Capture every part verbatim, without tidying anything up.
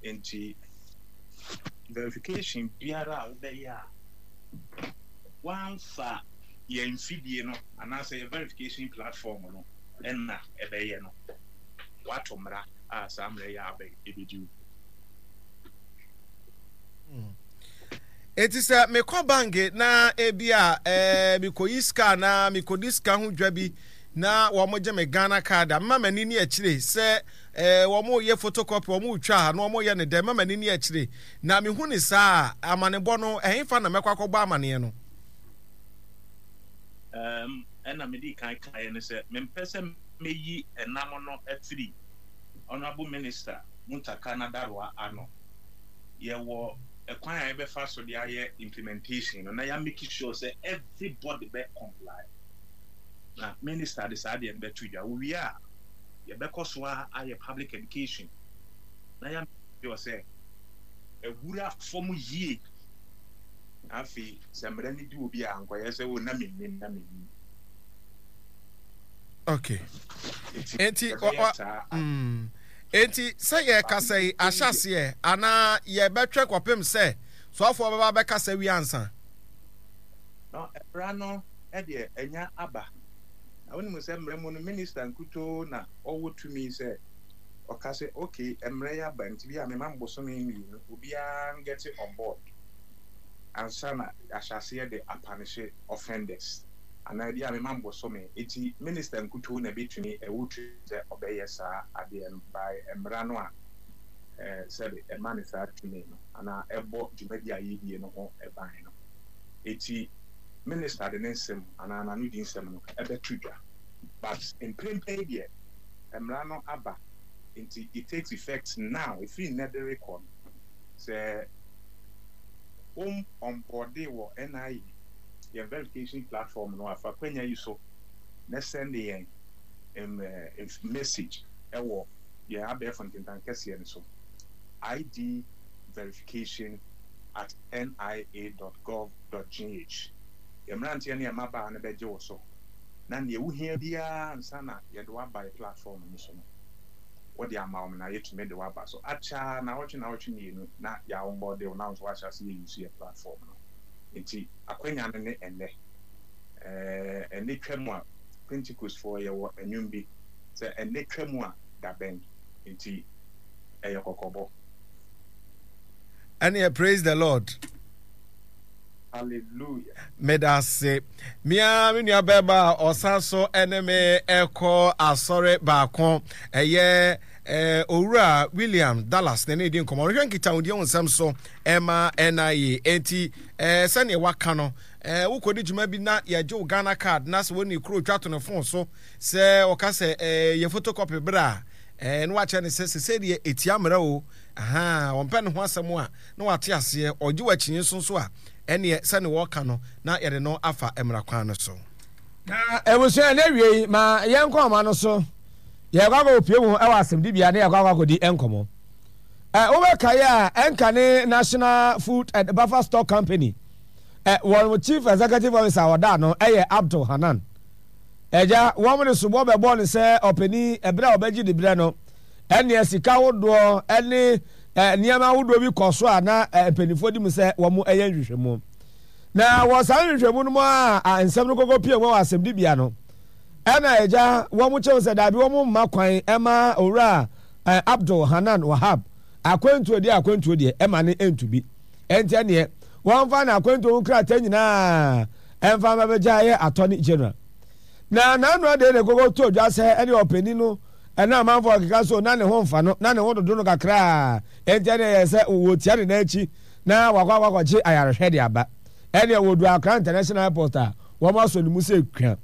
Nti verification biara a wobɛyɛ a woamfa yɛn mfidie no anaasɛ yɛ verification platform no ɛna ɛbɛyɛ no, wato mmara a saa mmara yi aba ɛbɛdi wo. Eti sɛ mekɔ bank na ebi a ɛɛ mekɔyi sika na mekɔdi sika ho dwa bi na wɔn gye me Ghana Card a, mma m'ani ni akyire sɛ ɛɛ wɔn yɛ photocopy, wɔn retwa a na wɔn yɛ ne dɛ, mma m'ani ni akyire na mehu ne saa a, amanebɔ no ɛhefa na mɛkɔ akɔbɔ amaneɛ no? Um, ɛna mede kan kaeɛ no sɛ mempɛ sɛ meyi ɛnam no afiri Honourable Minister Muntaka Nadaroa ano. Yɛwɔ ɛkwan a yɛbɛfa so de ayɛ implementation no na yɛ make sure sɛ everybody bɛ comply, na minister de saa deɛ no bɛto dwa. Wowie a, yɛbɛkɔ so a ayɛ public education na yɛ make sure sɛ awura fam yie. Afei sɛ mmerɛ no di obi a, nkɔyɛ sɛ o na mennim, na mennim. Okay, enti mm, enti sɛ yɛkasa yi ahyɛaseɛ anaa yɛbɛtwɛn kɔpem sɛ soafoɔ bɛba bɛkasa wie ansa? No, mmara no deɛ ɛnya aba. Na wonim sɛ mmara mu no, minister nkutoo na ɔwɔ tumi sɛ ɔka sɛ okay, mmara yi aba nti bi a mema mo bosome mmienu, obiara ngɛte on board ansa na yɛahyɛ aseɛ de apanehye offenders, anaa bi a mema mo bosome. Nti minister nkutoo na ɛbɛtumi, ɛwɔ tumi sɛ ɔbɛyɛ saa adeɛ no by mmara no a eh, sɛbe ɛma no saa tumi no anaa ɛbɔ dwumadi a yɛdie no ho ban no. Eti minister de ne nsɛm anaa n'anodi nsɛm no ɛbɛto dwa. But mprempren deɛ mmara no aba nti it takes effect now, ɛfiri nnɛ de rekɔ no, sɛ wo onboarde wɔ N I A yɛn verification platform no a, fa kwanya yi so na send yɛn message ɛwɔ yɛn abɛɛfo ntentan kɛseɛ no so, I D verification at N I A dot gov dot G H. Yɛn mmeranteɛ ne yɛn mmabaa no bɛgye wo so na nea wohia biara ansa na yɛde wo aba yɛ platform no so no, wɔde ama wo na yɛtumi de wo aba so. Akyɛ naawɔtwe naawɔtwe mmienu na yɛaonboarde wo na wo nso wahyɛ ase yɛ use yɛ platform no. Nti akwanya no ne ɛnnɛ. ɛɛ ɛnɛ twa mu a, Pentecost foɔ yɛwɔ ɛnwom bi sɛ ɛnnɛ twa mu a dabɛn, nti ɛyɛ kɔkɔbɔ. Ɛneɛ praise the Lord. Hallelujah. Meda ase. Mea me nua bɛrima a ɔsan so ɛne me ɛkɔ asɔre baako, ɛyɛ eh, Owura William Dallas na ne di nkɔmmɔ. Ɔhwɛ nkitahodie ho nsɛm so ɛma N I A. Enti eh, sɛdeɛ waka no, eh, wokɔdi dwuma bi na yɛgye wo Ghana Card na sɛ wɔne kuro twa to ne fon so sɛ ɔka sɛ eh, yɛ photocopy berɛ a, eh, na wakyerɛ ne sɛ sɛsɛ deɛ ɛtia mmerɛ o. Aha, ɔmpɛ ne ho asɛm a na wate aseɛ, ɔgye w'akyinye nso nso a, ɛneɛ sɛne wɔka no na yɛde no afa mmara kwan no so. Na abusua, na awiei ma yɛnkɔ ɔma no so. Yɛkɔ akɔpue mu wɔ asɛmdibea na yɛkɔ akɔ akɔdi nkɔmmɔ. Ɛ wobɛkae a, ɛnka ne National Food and Buffer Stock Company ɛ wɔn Chief Executive Officer a ɔda ano yɛ Abdul Hanan. Agya, wɔn de soboɔ bɛbɔɔ no sɛ ɔpanin ɛberɛ a ɔbɛgye diberɛ no, ɛnneɛ sika ahodoɔ ne nneɛma ahodoɔ bi kɔ so a na mpanimfoɔ di mu sɛ wɔn yɛ nhwehwɛmu. Na wɔ saa nhwehwɛmu no mu a nsɛm no kɔkɔ pie mu wɔ asɛmdibea no, ɛna agya wɔn kyɛw sɛ daabi, wɔn mma kwan ɛma Owura Abdul Hanan Wahab akwantuo deɛ, akwantuo deɛ ɛma ne ntu bi. Ɛnti ɛneɛ wɔmfa n'akwantuo ho krataa nyinaa ɛmfa mma bɛgya yɛ Attorney General. Na n'ano adeɛ na ɛkɔkɔ tɔ dwa sɛ ɛne ɔpanin no ɛna amanfoɔ keka so na ne ho mfa no na ne ho dodo no kakraa, ɛnti ɛne ɛyɛ sɛ wɔtia ne nan akyi na wakɔ akɔ akɔgye ayarehwɛ de aba. Ɛneɛ wɔdu Accra International Airport a, wɔn asɔ ne mu sɛ kua.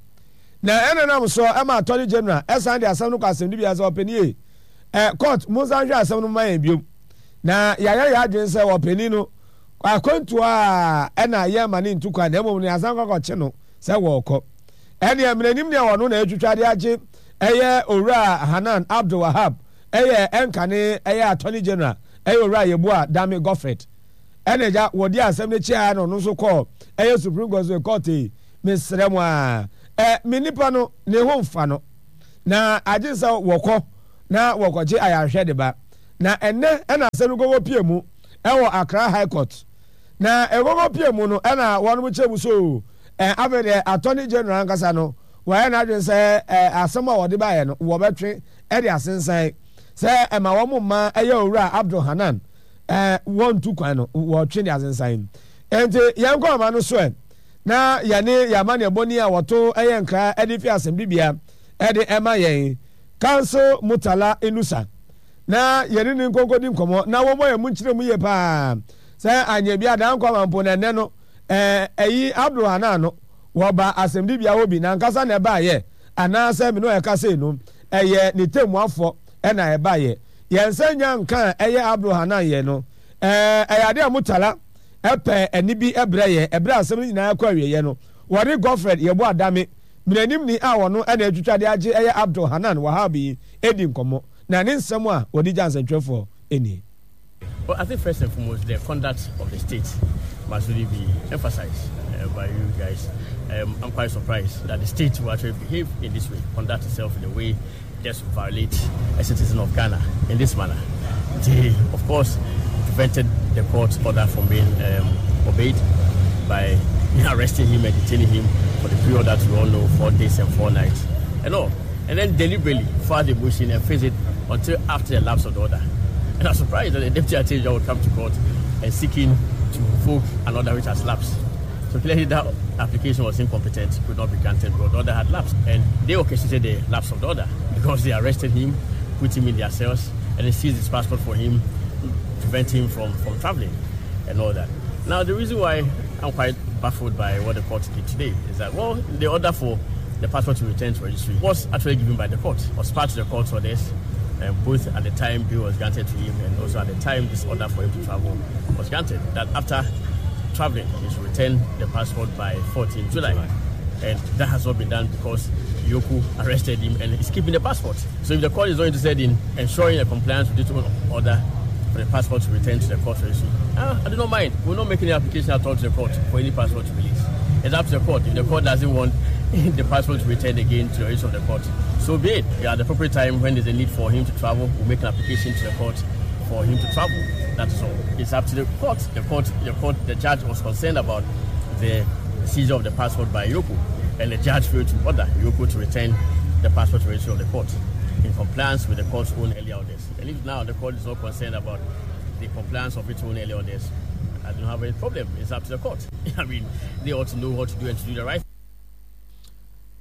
Na ɛna nam so ɛma Attorney General ɛsan de asɛm no kɔ asɛmdibea sɛ ɔpanin ei, ɛ court monsan hwɛ asɛm no mma yɛn biom. Na yɛayɛ yɛn adwene sɛ ɔpanin no akwantuo a ɛna yɛmma no ntu kwan na mmom no yɛasan kɔ akɔkye no sɛ wɔrekɔ. Ɛneɛ mmenanim deɛ ɔno na ɛtwitwa de agye ɛyɛ Owura Hanan Abdul Wahab, ɛyɛ ɛnkane ɛyɛ Attorney General ɛyɛ Owura Yeboah Dame Godfred. Ɛna agya wɔdi asɛm no akyi a na ɔno nso kɔɔ ɛyɛ Supreme Court sɛ court yi mesrɛ mo a ɛ me nipa no ne ho mfa no na agye sɛ wɔkɔ na wɔkɔgye ayarehwɛ de ba. Na ɛnnɛ na asɛm no kɔkɔ pie mu wɔ Accra High Court. Na ɛkɔkɔ pie mu no ɛna wɔnom kyerɛ mu so ɛ afei deɛ Attorney General ankasa no wɔayɛ n'adwene sɛ ɛ asɛm a wɔde baeɛ no wɔbɛtwe de asensan sɛ ɛma wɔn mma ɛyɛ Owura Abdul Hanan ɛ wɔntu kwan no wɔtwe de asensan. Enti yɛnkɔ ama no so ɛ na yɛne yɛn amanneɛbɔni a wɔto yɛ nkra de fi asɛmdibea de ɛma yɛn, Counsel Murtala Inusa, na yɛne no nkɔnkɔdi nkɔmmɔ na wɔmmɔ yɛn mu nkyerɛ mu yie paa sɛ anyɛ bi a daa nkwa ma mpo na ɛnnɛ no ɛyi Abdul Hanan no wɔba asɛmdibea hɔ bi n'ankasa na ɛbaeɛ anaasɛ me ne ɔyɛ kasa yi no ɛyɛ ne tɛmmuafoɔ ɛna ɛbaeɛ. Yɛn nsa nnya nka a ɛyɛ Abdul Hanan yɛ no ɛyɛ adeɛ a Murtala pɛ ɛnne bi brɛ yɛn ɛberɛ a asɛm no nyinaa kɔ awieɛ no, wɔde Godfred Yeboah Dame, mmaranimni a ɔno na atwitwa de agye ɛyɛ Abdul Hanan Wahab yi di nkɔmmɔ, na ne nsɛm a wɔde gya nsɛntwerɛfoɔ nie. Well, I think first and foremost, the conduct of the state must really be emphasized uh, by you guys. Um, I'm quite surprised that the state will actually behave in this way, conduct itself in a way just violate a citizen of Ghana in this manner. They, of course, prevented the court order from being um, obeyed by arresting him and detaining him for the period that we all know, four days and four nights, and all. And then deliberately filed the motion and face it until after the lapse of the order. And I'm surprised that the deputy attorney general would come to court and seeking to revoke an order which has lapsed. So clearly that application was incompetent, could not be granted because the order had lapsed. And they orchestrated the lapse of the order because they arrested him, put him in their cells, and they seized his passport for him, prevent him from, from traveling and all that. Now, the reason why I'm quite baffled by what the court did today is that, well, the order for the passport to return to registry was actually given by the court, was part of the court orders, and both at the time bill was granted to him and also at the time this order for him to travel was granted, that after traveling, he should return the passport by fourteenth July. July. And that has not been done because EOCO arrested him and is keeping the passport. So if the court is not interested in ensuring a compliance with this order for the passport to return to the court registry, ah, I do not mind. We'll not make any application at all to the court for any passport to release. It's up to the court. If the court doesn't want the passport to return again to the registry of the court, so be it. Yeah, at the appropriate time when there's a need for him to travel, we'll make an application to the court for him to travel. That's all. It's up to the court. The court, the court, the judge was concerned about the seizure of the passport by EOCO, and the judge failed to order EOCO to return the passport to the registry of the court in compliance with the court's own earlier orders. And if now the court is not concerned about the compliance of its own earlier orders, I don't have any problem. It's up to the court. I mean, they ought to know what to do and to do the right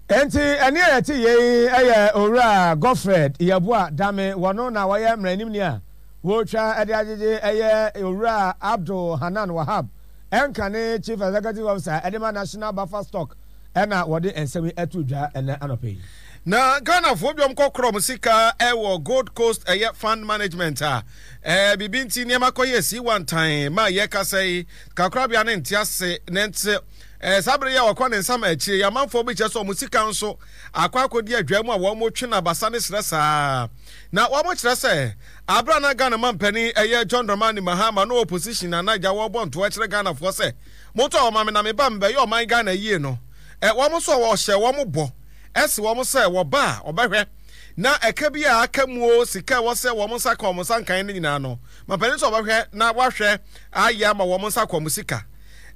Enti ɛnne a yɛte yei yɛ Owura Godfred Yeboah Dame, wɔno na wɔyɛ mmaranimni a wɔretwa de agyegye ɛyɛ Owura Abdul Hanan Wahab ɛnkane Chief Executive Officer de ma National Buffer Stock ɛna wɔde nsɛm yi ato dwa ɛnɛ anɔpa yi. Na Ghanafoɔ biom kɔ korɔ wɔn sika wɔ Gold Coast ɛyɛ fund management a ɛɛ biribi nti nneɛma kɔ yɛ si wantan ma yɛ kasa yi kakorabea ne nte ase ne nte ɛɛ saa bere yi a wɔkɔ ne nsam akyire yi amanfoɔ bi kyerɛ sɛ wɔn sika nso akɔ akɔdi adwa mu a wɔn twe no abasa ne serɛ saa na wɔn kyerɛ sɛ abere a na Ghana mampanin ɛyɛ John Dramani Mahama no opposition na na agya wɔbɔ ntoa kyerɛ Ghanafoɔ sɛ montɔ wɔn ma me na me ba mebɛyɛ ɔman Ghana yie no ɛ wɔn nso wɔhyɛ wɔn bɔ Ɛse wɔn sɛ wɔba a, wɔbɛhwɛ, na ɛka bi a aka mu oo, sika a ɛwɔ sɛ wɔn nsa ka wɔn nsa nkan no nyinaa no, mampanin sɛ wɔbɛhwɛ na wɔahwɛ ayɛ ama wɔn nsa akɔ wɔn sika.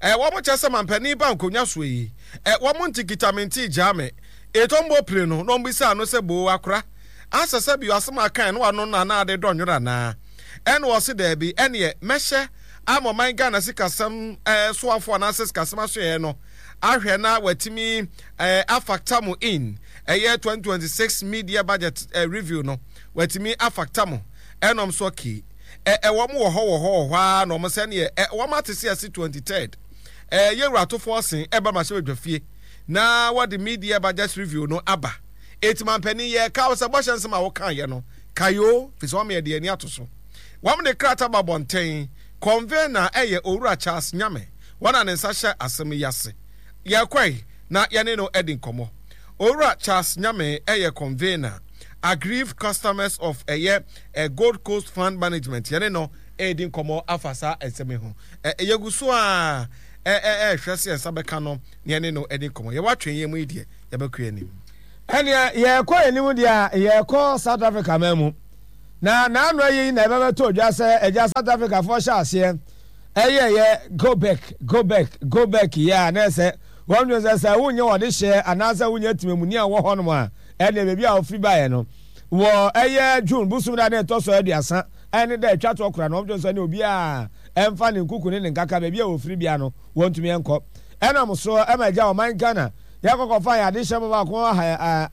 Ɛ, wɔn kyerɛ sɛ mampanin ba nkonnwa soɔ yi, ɛ, wɔn nte kita me nte gyaa me. Etɔ mbɔ pire no, na wɔn bisaa no sɛ, Boo, akora, asɛ sɛ bio asɛm a akae no w'ano no anaa ade dɔ nwera anaa? Ɛna ɔse daabi, ɛneɛ mɛhyɛ ama ɔman Ghana sikasɛm ɛ, soafoɔ anaasɛ sikasɛm asoɛeɛ no ahwɛ na watumi eh, afactor mo in ɛyɛ twenty twenty-six mid-year budget eh, review no watumi afactor mo ɛnom so okay ɛ ɛ wɔn wɔ hɔ wɔ hɔ wɔ hɔ ara na wɔn sɛ neɛ ɛ wɔn ate se ɛse twenty third ɛ yɛ wura atofoɔ sen ɛba ma hyɛ badwa fie na wɔde mid-year budget review no aba eti mampanin yɛ ka sɛ bɔhyɛ nsɛm a wɔka yɛ no kayo fi sɛ wɔn yɛ de ani ato so wɔn de krataa ba bɔnten convener ɛyɛ Owura Charles Nyame wɔn a ne nsa hyɛ asɛm yi ase. Yɛkɔe na yɛne no adi nkɔmmɔ. Owura Charles Nyame yɛ convener, Aggrieved Customers of ɛyɛ Gold Coast Fund Management. Yɛne no redi nkɔmmɔ afa saa nsɛm yi ho. Yɛgu so ara rehwɛ sɛ yɛn nsa bɛka no na yɛne no adi nkɔmmɔ. Yɛwɔ atwɛnyɛ mu yi deɛ, yɛbɛkɔ yɛn anim. Ɛnneɛ yɛrekɔ yɛn anim deɛ a, yɛrekɔ South Africa man mu. Na n'ano ayi na ɛbɛbɛtɔ dwa sɛ agya South Africa foɔ hyɛ aseɛ ɛyɛyɛ go back, go back, go back yɛ a, na ɛsɛ wɔn dwen sɛ sɛ wonyɛ wɔde hyɛ anaasɛ wonyɛ temamuni a wɔ hɔnom a, ɛne baabi a wɔfiri baeɛ no wɔ ɛyɛ June bosom da ne ɛtɔ so aduasa ɛne da atwa toɔ kora no, wɔn dwen sɛ ne obiara ɛmfa ne nkuku ne ne nkaka baabi a wɔfiri bia no wɔntumi ɛnkɔ. Ɛnam so ɛma agya ɔman Ghana yɛkɔkɔfa yɛ adehyɛ mu baako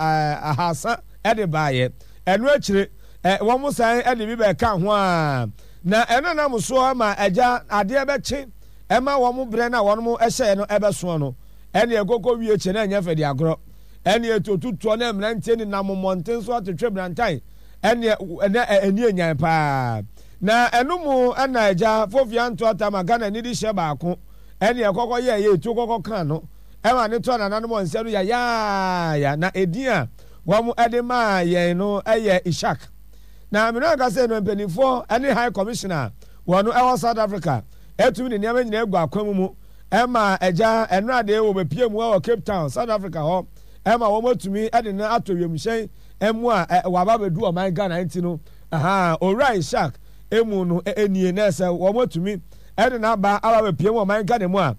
ahasa ɛde baeɛ. Ɛno akyire wɔn san ɛde bi bɛka ho a, na ɛno nam so ma agya adeɛ bɛkye ɛma wɔn berɛ no a wɔn hyɛɛ no ɛbɛsoɔ no, ɛne ɛkɔkɔ wie kyɛ na ɛnyɛ fɛ de agorɔ. Ɛne ɛtotutoɔ ne mmeranteɛ nenam mmɔnten so atwetwe brantan, ɛne ɛnɛ ɛni enyan paa. Na ɛno mu ɛna agya Fofia Ntoata ma Ghana nidi hyɛ baako ɛne ɛkɔkɔ yɛ ɛyɛ etu kɔkɔ kan no ɛma ne tɔ nananom wɔn nsɛm no yayaaya. Na edin a wɔn ɛde maa yɛn no ɛyɛ Ishak. Na mene ankasa no mpanimfoɔ ɛne High Commissioner wɔn ɛwɔ South Africa ɛtumi ne nneɛma nyinaa egu akwan mu mu ɛma agya ɛnora de wɔbɛpie mu ɛwɔ Cape Town, South Africa hɔ, ɛma wɔn atumi ɛde no ato wiemhyɛn ɛmu a waba abɛdu ɔman Ghana. Nti no aha Owura Ishak emu no enie na ɛsɛ wɔn atumi ɛde n'aba aba abɛpie mu ɔman Ghana mu a,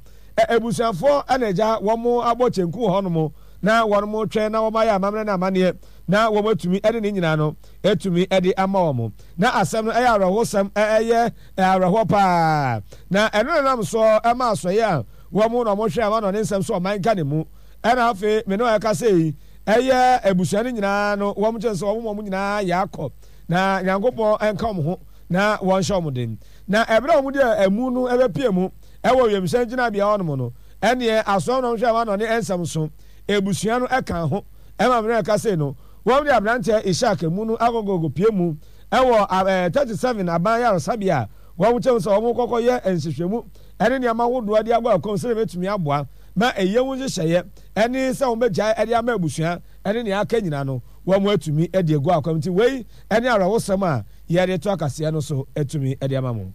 ebusuafoɔ ɛna agya wɔn abɔ kyenku wɔ hɔnom na wɔn twɛn na wɔn ayɛ amammerɛ ne amanneɛ na wɔn atumi ɛde ne nyinaa no atumi ɛde ama wɔn. Na asɛm no ɛyɛ awerɛhosɛm, ɛyɛ awerɛhoɔ paa. Na ɛno nenam so ɛma asɔeɛ a wɔn na wɔn hwɛ ama na ɔne nsɛm so ɔman Ghana mu. Ɛna afei me ne ɔyɛ kasa yi, ɛyɛ abusua no nyinaa no wɔn kyɛn sɛ wɔn wɔn nyinaa yɛ akɔ na Nyankopɔn nka wɔn ho na wɔn hyɛ wɔn den. Na ɛberɛ a wɔn de ɛmu no ɛbɛpie mu ɛwɔ wiemhyɛn gyinabea hɔnom no, ɛneɛ asɔre na wɔn hwɛ ama na ɔne nsɛm so ebusua no ɛka ho ɛma me ne ɔyɛ kasa yi no, wɔn de aberanteɛ Ishak emu no akɔkɔkɔ pie mu ɛwɔ ɛɛ thirty seven aban yaresabea a wɔn kyɛn sɛ wɔn kɔkɔ yɛ nhwehwɛmu ɛne nneɛma ahodoɔ de abɔ ɛkɔm sɛ ɛbɛtumi aboa ma ɛyɛ ho nhyehyɛeɛ ɛne sɛ wɔn bɛgyae ɛde ama abusua ɛne nea aka nyinaa no wɔn atumi ɛde agu akwam. Nti wei ɛne awerɛhosɛm a yɛde to akaseɛ no so atumi ɛde ama mo.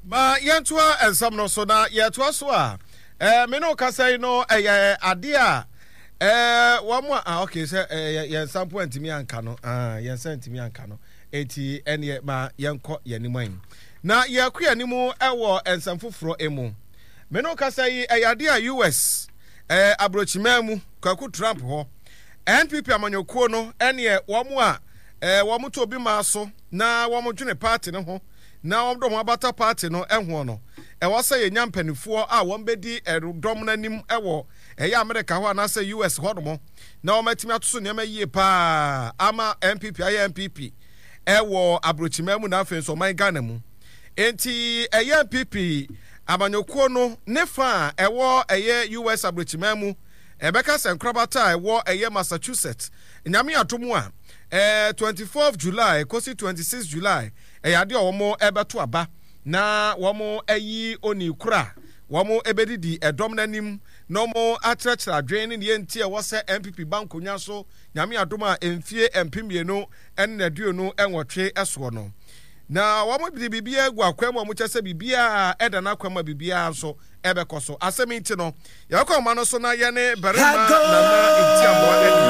Ma yɛntoa nsɛm no so, na yɛtoa so a, ɛɛ me ne wo kasa yi no ɛyɛ adeɛ a ɛɛ wɔn a ah okay sɛ ɛɛ yɛn nsa mpo antumi anka no, ah yɛn nsa antumi anka no, eti ɛneɛ ma yɛnkɔ yɛn anim ayi na yɛkɔ yɛn anim ɛwɔ nsɛm foforɔ emu. Me ne wo kasa yi ɛyɛ adeɛ a U S ɛɛ aburokyiman mu Kwaku Trump hɔ N P P amanyɔkuo no ɛneɛ wɔn a ɛɛ wɔn to obi maa so na wɔn dwene party no ho na wɔn de wɔn abata party no ɛho no, ɛwɔ sɛ yɛnya mpanimfoɔ a wɔn bɛdi ɛdɔm no anim ɛwɔ ɛyɛ America hɔ anaasɛ U S hɔ nom na wɔn atumi atoso nneɛma yie paa ama N P P ayɛ N P P ɛwɔ aburokyiman mu na afei nso ɔman Ghana mu. Nti ɛyɛ N P P amanyɔkuo no ne fa a ɛwɔ ɛyɛ U S aburokyiman mu, ɛbɛka sɛ nkorabata a ɛwɔ ɛyɛ Massachusetts, Nyame adom a ɛɛ twenty-fourth July kɔsi twenty-six July, ɛyɛ adeɛ a wɔn ɛbɛto aba na wɔn ayi oni kora wɔn ɛbɛdidi ɛdɔm n'anim na wɔn akyerɛkyerɛ adwene ne neɛ nti ɛwɔ sɛ N P P ba nkonnwa so, Nyame adom a, mfie mpem mmienu ɛne n'aduonu nwɔtwe ɛsoɔ no. Na wɔn de biribiara gu akwan mu a wɔn kyɛ sɛ biribiara ɛda n'akwan mu a biribiara nso ɛbɛkɔ so. Asɛm yi nti no, yɛbɛkɔ ɔma no so na yɛne barima Nana Ntiamoa adi.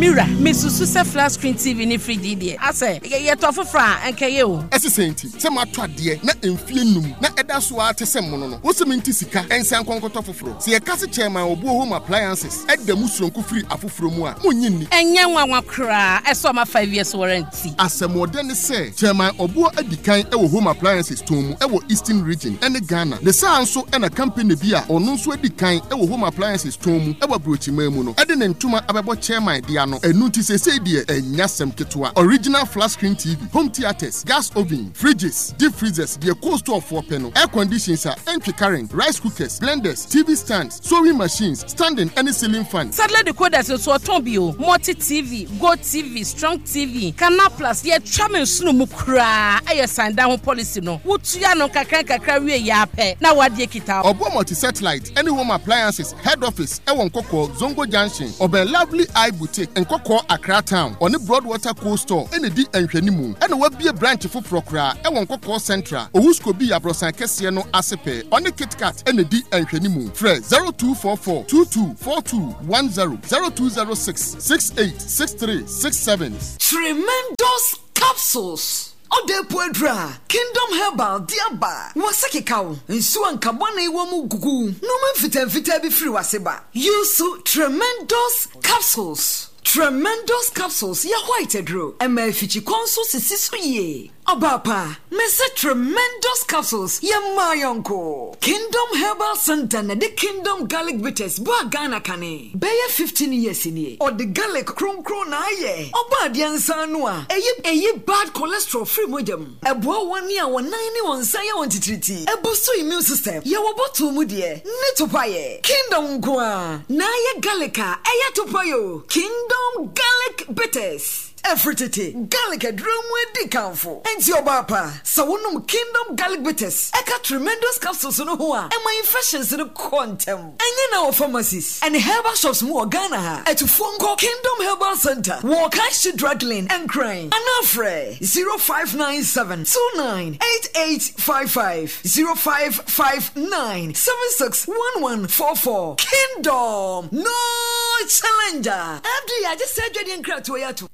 Mira, mesusu sɛ flat screen T V ne fridge yi deɛ, asɛ yɛtɔ foforɔ a ɛnkɛyɛ o. Ɛsesɛ nti sɛ mato adeɛ na mfie num na ɛda so ara te sɛ mmono no, wo sɛ mente sika ɛnsa nkɔnkɔtɔ foforɔ. Sɛ yɛka se Chairman Obuo Home Appliances ɛda mu soronko firi afoforɔ mu a, monnye nni. Ɛnyɛ nwanwa koraa, ɛsɛ ɔma five years warranty. Asɛmɔdɛ ne sɛ Chairman Obuo adi kan ɛwɔ home appliances tɔn mu ɛwɔ Eastern Region ɛne Ghana. Ne saa nso ɛna company bi a ɔno nso adi kan ɛwɔ home appliances tɔn mu ɛwɔ aburokyiman mu no ɛde ne ntoma abɛbɔ Chairman de ano. Ɛnu nti seesei deɛ ɛnya sɛm ketewa. Original flat screen T V, home theatres, gas oven, fridges, deep freezers, deɛ cold store foɔ pɛ no, air conditions a ɛntwe current, rice cookers, blenders, T V stands, sewing machines, standing ɛne ceiling fan. Satellite decoders nso ɔtɔn bi o. Multi T V, Go T V, Strong T V, Canal Plus. Yɛtwa me nsono mu koraa, ɛyɛ san dan ho policy no, wotua no nkakra nkakra wie yɛ apɛ na wadeɛ kita. Ɔbɔ Multi Satellite ɛne Home Appliances head office ɛwɔ Nkɔkɔɔ Zongo Junction, ɔbɛn Lovely Eye Boutique. Nkɔkɔɔ Accra Town. Ɔne Broadwater Cold Store na ɛdi nhwɛnimu. Ɛna wabue branch foforɔ koraa wɔ Nkɔkɔɔ Central, Owuskobi abrɔsan kɛseɛ no ase pɛɛ. Ɔne KitKat na ɛdi nhwɛnimu. Frɛ zero two four four two two four two one zero, zero two zero six six eight six three six seven. Tremendous Capsules, Ɔda po aduru a Kingdom Herbal de aba. W'ase keka wo, nsuo a nka bɔne wɔ mu gugu wo, nnoɔma mfitaa mfitaa bi firi w'ase ba. Use Tremendous Capsules. Tremendous Capsules yɛ white aduro, ɛma afikyikɔ nso sisi so yie. Ɔbaa pa, mese Tremendous Capsules yɛ mmaa yɔnko. Kingdom Herbal Centre na ɛde Kingdom Garlic Bitters baa Ghana kane. Bɛyɛ fifteen years nie. Ɔde garlic kronkron na ayɛ. Ɔbɔ adeɛ nsa ano a, ɛyi ɛyi bad cholesterol firi mogya mu. Ɛboa wɔn a wɔn nan ne wɔn nsa yɛ wɔn titiritii. Ɛboost immune system. Yɛwɔ bottle mu deɛ ne topaeɛ. Kingdom nko ara na ayɛ garlic a ɛyɛ topaeɛ o. Kingdom Garlic Bitters. Ɛfiri tete, garlic aduro mu adi kamfo. Enti ɔbaa pa, sɛ wonom Kingdom Garlic Bitters ɛka Tremendous Capsules no ho a, ɛma infections no kɔ ntɛm. Ɛnyɛ na wɔ pharmacies ɛne herbal shops mu wɔ Ghana ha. Atufoɔ nkɔ Kingdom Herbal Center wɔ Okaishie Drug Lane, Nkran, anaa frɛ zero five nine seven two nine eight eight five five, zero five five nine seven six one one four four. Kingdom, no challenger. F D A agye saa adwadeɛ nkratoɔ yi atom.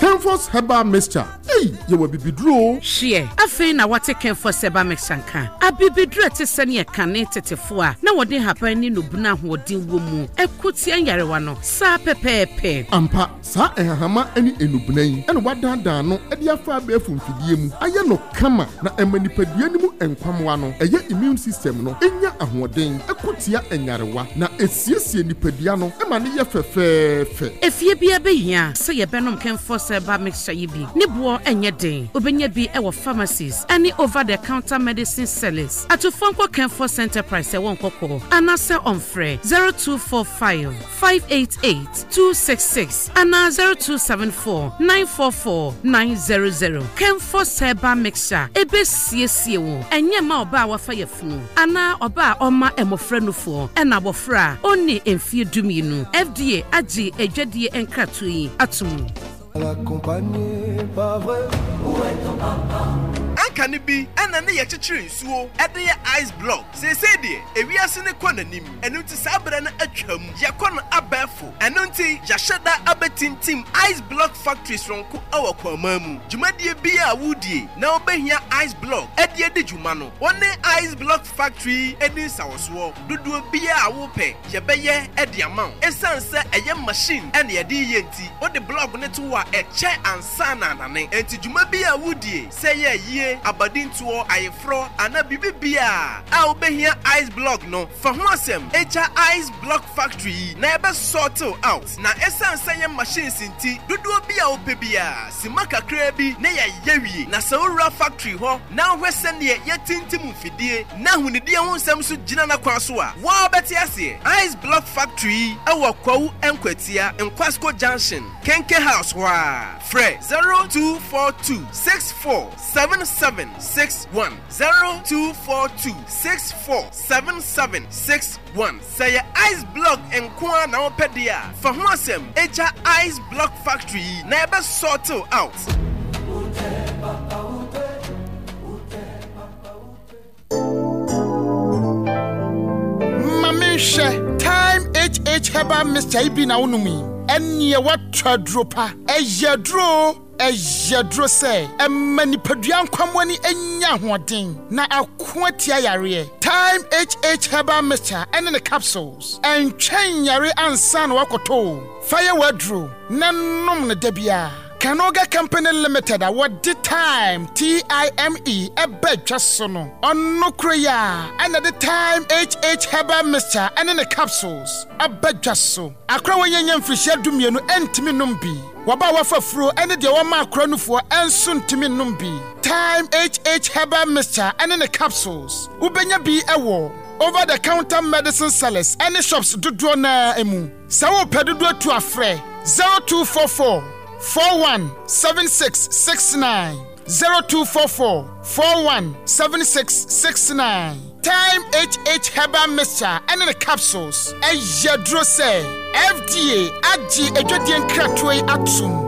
Kenfos Herbal Mixture, ei, yɛwɔ abibiduro o. Hweɛ, afei na woate Kenfos Herbal Mixture nka? Abibiduro a ɛte sɛnea kane tetefo a na wɔde nhaban ne nnubona ahoɔden wɔ mu ko tia nyarewa no, saa pɛpɛɛpɛ. Ampa, saa nhahama ne nnubona yi na wɔadaadaa no de afa abɛɛfo mfidie mu ayɛ no kama na ɛma nipadua no mu nkwammoa no, ɛyɛ immune system no, nya ahoɔden ko tia nyarewa, na ɛsiesie nipadua no ma no yɛ fɛfɛɛfɛ. Efie biara behia sɛ yɛbɛnom Kenfos Herbal Mixture yi bi. Ne boɔ nyɛ den. Wobɛnya bi wɔ pharmacies ne over the counter medicine sellers. Atufoɔ nkɔ Kenfos Enterprise ɛwɔ Nkɔkɔɔ anaasɛ ɔmfrɛ zero two four five five eight eight two six six anaa zero two seven four nine four four nine zero zero. Kenfos Herbal Mixture ɛbɛsiesie wo. Ɛnyɛ mma ɔbaa a wafa yafunu anaa ɔbaa a ɔma mmɔfra nufoɔ ɛna abɔfra a ɔnni mfeɛ du mmienu. F D A agye adwadie nkratoɔ yi ato mu. Anka ne bi ɛna ne yɛkyekyere nsuo ɛde yɛ ice block. Seesei deɛ, ewiase ne kɔ n'anim, ɛno nti saa berɛ no atwam. Yɛkɔ no abɛɛfo, ɛno nti yɛahyɛ da abɛtintim ice block factory soronko ɛwɔ Kwaman mu. Dwumadie bi a wodie na wobɛhia ice block ɛde adi dwuma no, wɔne Ice Block Factory ani nsawɔsoɔ. Dodoɔ biara a wopɛ, yɛbɛyɛ ɛde ama wo. Ɛsiane sɛ ɛyɛ machine ɛna yɛde yɛ nti, wode block ne to hɔ a, ɛkyɛ ansa na anane. Enti dwuma bi a wodie, sɛ yɛ yie, abadintoɔ, ayeforɔ anaa biribi biara a wobɛhia ice block no, fa ho asɛm ɛgya Ice Block Factory yi na yɛbɛ sort out. Na ɛsiane sɛ yɛ machines nti, dodoɔ bi a wopɛ biara, sima kakraa bi na yɛayɛ wie. Na sɛ wowura factory hɔ na wohwɛ sɛneɛ yɛtintim mfidie na ahonidie ho nsɛm so gyina n'akwan so a, wɔa bɛte aseɛ. Ice Block Factory yi ɛwɔ Kwawu Nkwatia, Nkwasco Junction, Kenke House hɔ a. Frɛ zero two four two six four seven seven six one, zero two four two six four seven seven six one. Sɛ yɛ ice block nko ara na wopɛ deɛ a, fa ho asɛm ɛgya Ice Block Factory yi na yɛbɛ sort out. Ma menhwɛ. Time H H Herbal Mixture yi bi na wonom yi, ɛneɛ woatɔ aduro pa. Ɛyɛ aduro, ɛyɛ aduro sɛ ɛma nipadua nkwammoani anya ahoɔden na ako atia yareɛ. Time H H Herbal Mixture ɛne ne capsules, ɛntwɛn yare ansa na wakɔtɔ o. Fa yɛ w'aduro na nom no da biara. Canoga Company Limited a wɔde Time, T I M E, ɛbɛ dwa so no, ɔno koro yi a ɛna de Time H H Herbal Mixture ɛne ne capsules aba dwa so. Akora wɔnyanya mfirihyia dumienu ɛntumi nom bi. Wɔba a wɔafa furo ɛne deɛ wɔma akora nufoɔ ɛnso ntumi nom bi. Time H H Herbal Mixture ɛne ne capsules, wobɛnya bi ɛwɔ over the counter medicine sellers ɛne shops dodoɔ naa mu. Sɛ wopɛ dodoɔ tu afrɛ zero two four four four one seven six six nine, zero two four four four one seven six six nine. Time H H Herbal Mixture ɛne ne capsules ɛyɛ aduro sɛ F D A agye adwadie nkratoɔ yi atom.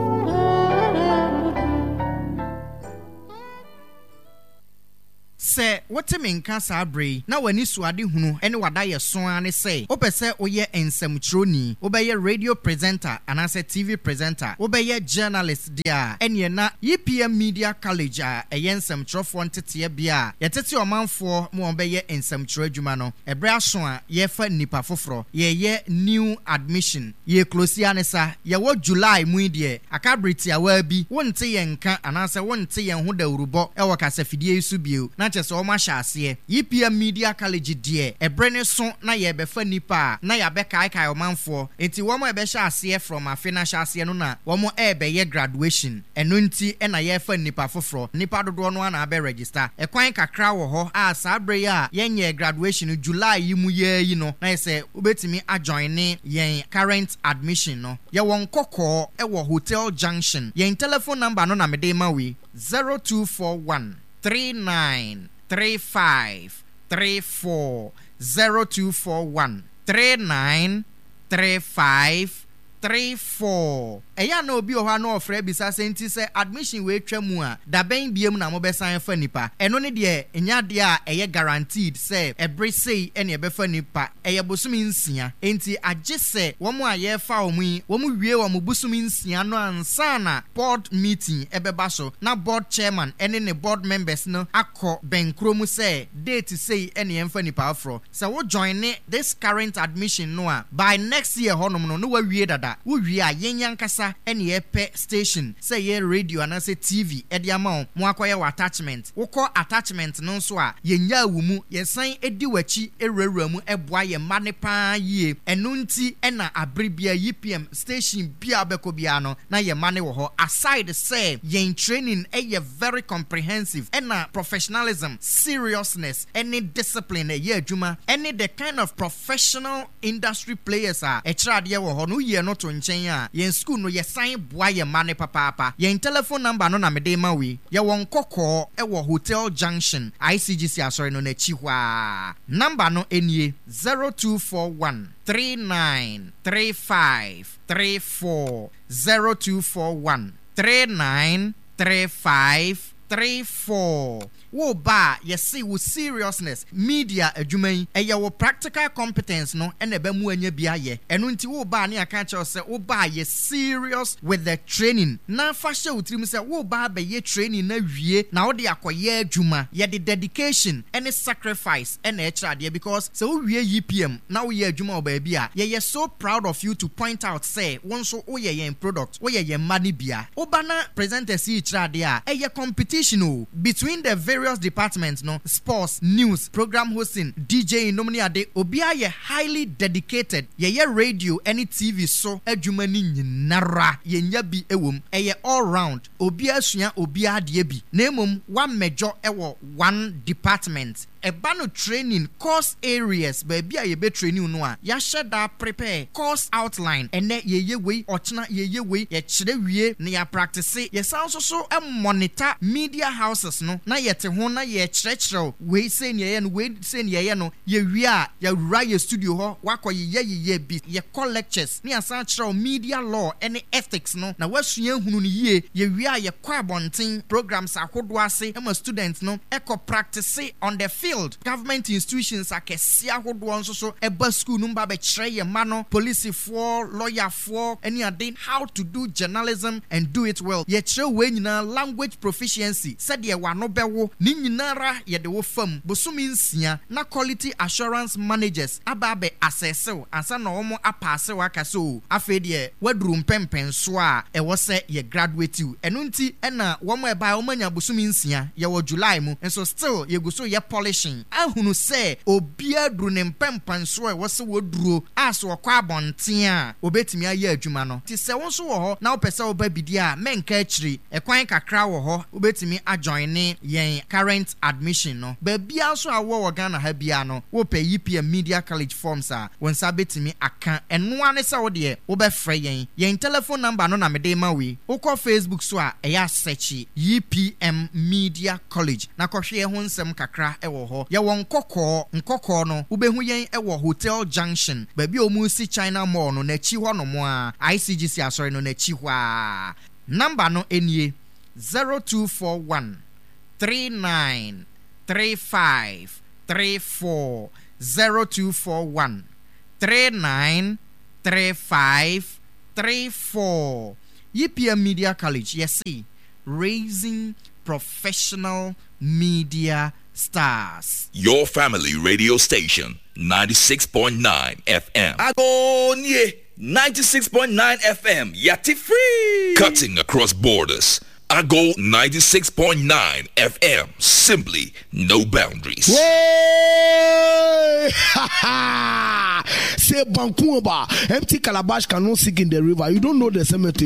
Sɛ wote me nka saa berɛ yi na w'ani so ade hunu ne w'adayɛso ara ne sɛ wopɛ sɛ woyɛ nsɛmtwerɛni, wobɛyɛ radio presenter anaasɛ T V presenter, wobɛyɛ journalist deɛ a, ɛneɛ na E P M Media College a ɛyɛ nsɛmtwerɛfoɔ nteteɛ bea a yɛtete ɔmanfoɔ ma wɔbɛyɛ nsɛmtwerɛ adwuma no, ɛberɛ aso a yɛrefa nnipa foforɔ, yɛreyɛ new admission. Yɛreclose ara ne sa, yɛwɔ July mu yi deɛ, aka bere tiawaa bi, wonte yɛn nka anaasɛ wonte yɛn ho dawurubɔ wɔ kasafidie yi so bio, na kyerɛ sɛ wɔahyɛ aseɛ. E P M Media College deɛ, ɛberɛ ne so na yɛrebɛfa nnipa a na yɛabɛkaekae ɔmanfoɔ, enti wɔn a ɛbɛhyɛ aseɛ from afe no ahyɛaseɛ no na wɔn ɛrebɛyɛ graduation, ɛno nti na yɛrefa nnipa foforɔ. Nnipa dodoɔ no ara na abɛ register. Ɛkwan kakra wɔ hɔ a saa berɛ yi a yɛnyɛɛ graduation no, July yi mu yi ara yi no, na yɛ sɛ wobɛtumi ajoin yɛn current admission no. Yɛwɔ Nkɔkɔɔ wɔ Hotel Junction. Yɛn telephone number no na mede rema wo yi, zero two four one three nine three five three four, zero two four one three nine three five three four. Ɛyɛ a na obi wɔ hɔ a na ɔfrɛ bisa sɛ, nti sɛ admission wei twa mu a, dabɛn biom na mobɛsan afa nipa? Ɛno ne deɛ, ɛnyɛ adeɛ a ɛyɛ guaranteed sɛ ɛbere sei ɛne ɛbɛfa nipa. Ɛyɛ bosome nsia, enti agye sɛ wɔn a yɛrefa wɔn yi, wɔn wie wɔn bosome nsia no ansa na board meeting ɛbɛba so, na board chairman ɛne ne board members no akɔ bɛnkuro mu sɛ date sei ɛne yɛmfa nipa aforɔ. Sɛ wo join ne this current admission no a, by next year hɔnom no na wawie dada. Wowie a, yɛn ankasa ɛne yɛpɛ station, sɛ yɛ radio anaasɛ T V, ɛde ama wo mo akɔyɛ wɔ attachment. Wokɔ attachment no nso a, yɛnyaa wo mu, yɛsan di w'akyi ewurawura mu, ɛboa yɛn mma ne paa yie. Ɛno nti ɛna abere bia E P M station bia wobɛkɔ biara no na yɛn mma ne wɔ hɔ. Aside sɛ yɛn training ɛyɛ very comprehensive, ɛna professionalism, seriousness ɛne discipline ɛyɛ adwuma, ɛne the kind of professional industry players a ɛkyerɛ adeɛ wɔ hɔ no, woyie no to nkyɛn a, yɛn school no yɛsan boa yɛn mma ne papaapa. Yɛn telephone number no na mede ma wei. Yɛwɔ Nkɔkɔɔ ɛwɔ Hotel Junction, I C G C asɔre no n'akyi hɔ a. Number no nie: zero two four one three nine three five three four, zero two four one three nine three five three four. Wo ba a, yɛse wo seriousness, media adwuma yi, ɛyɛ wo practical competence no ɛna ɛbɛ mu anya bi ayɛ. Ɛno nti wo ba a, ne aka kyerɛw sɛ wo ba a, yɛ serious with the training na fa hyɛ wo tirim sɛ wo ba abɛyɛ training na wie na wode akɔyɛ adwuma. Yɛde dedication ɛne sacrifice ɛna ɛkyerɛ adeɛ, because sɛ wowie E P M na woyɛ adwuma wɔ baabi a, yɛyɛ so proud of you to point out sɛ wo nso woyɛ yɛn product, woyɛ yɛn mma no bia. Woba na presenters yi kyerɛ adeɛ a, ɛyɛ competition o between the various departments no, sports, news, program hosting, D J nom ne ade. Obiara yɛ highly dedicated. Yɛyɛ radio ne T V so adwuma no nyinara, yɛnya bi wɔ mu. Ɛyɛ all round, obiara sua obiara adeɛ bi, na mmom wammɛdwɔ wɔ one department. Ɛba no training course areas, baabi a yɛbɛ training no a, yɛahyɛ da prepare course outline. Ɛnɛ yɛyɛ wei, ɔkyena yɛyɛ wei, yɛkyerɛ wie na yɛapractice. Yɛsan nso so monitor media houses no na yɛte ho na yɛkyerɛkyerɛw wei sei ne yɛyɛ no, wei sei ne yɛyɛ no. Yɛwie a, yɛwura yɛ studio hɔ, wakɔ yeyɛ yeyɛ bi. Yɛkɔ lectures ne yɛasan kyerɛw media law ne ethics no na wasua hunu no yie. Yɛwie a, yɛkɔ abɔnten programs ahodoɔ ase ma students no ɛkɔ practice on the field. Government institutions akɛseɛ ahodoɔ nso so ɛba school no mu ba bɛkyerɛ yɛn mma no, polisifoɔ, lɔyafoɔ ne ade, how to do journalism and do it well. Yɛkyerɛ wei nyinaa, language proficiency, sɛdeɛ w'ano bɛwo ne nyinara. Yɛde wo fam bosome nsia na quality assurance managers aba abɛ assess wo ansa na wɔn apass wo aka sɛ o, afei deɛ waduru mpɛmpɛnsoɔ a ɛwɔ sɛ yɛ graduate wo. Ɛno nti ɛna wɔn a ɛbaa, wɔn anya bosome nsia, yɛwɔ July mu nso, still yɛgu so yɛ polishing ahunu sɛ obiara duru ne mpɛmpɛnsoɔ a ɛwɔ sɛ wɔduro a, sɛ wɔkɔ abɔnten a, obetumi ayɛ adwuma no. Ti sɛ wo nso wɔ hɔ na wopɛ sɛ woba bidie a, mɛnka akyiri. Ɛkwan kakra wɔ hɔ, wobɛtumi ajoin ne yɛn current admission no. Baabiara nso a wowɔ wɔ Ghana ha biara no, wopɛ E P M Media College forms a, wo nsa bɛtumi aka. Ɛnoa ne sɛ wo deɛ wobɛfrɛ yɛn. Yɛn telephone number no na mede ma wei. Wokɔ Facebook so a, ɛyɛ asɛkyi E P M Media College na kɔhwɛ yɛn ho nsɛm kakra wɔ wɔ hɔ. Yɛwɔ Nkɔkɔɔ, Nkɔkɔɔ no, wobɛhu yɛn wɔ Hotel Junction, baabi a wɔresi China Mall no n'akyi hɔnom ara, ICGC asɔre no n'akyi hɔ ara. Number no nie, zero two four one, three nine, three five, three four, zero two four one, three nine, three five, three four. YPM Media College, yɛse raising professional media stars. Your family radio station, ninety-six point nine F M. Agonie ninety-six point nine F M, Yati free. Cutting across borders. Ago ninety-six point nine F M, simply no boundaries. Hey! Say Bankuba, empty calabash cannot sink in the river. You don't know the cemetery.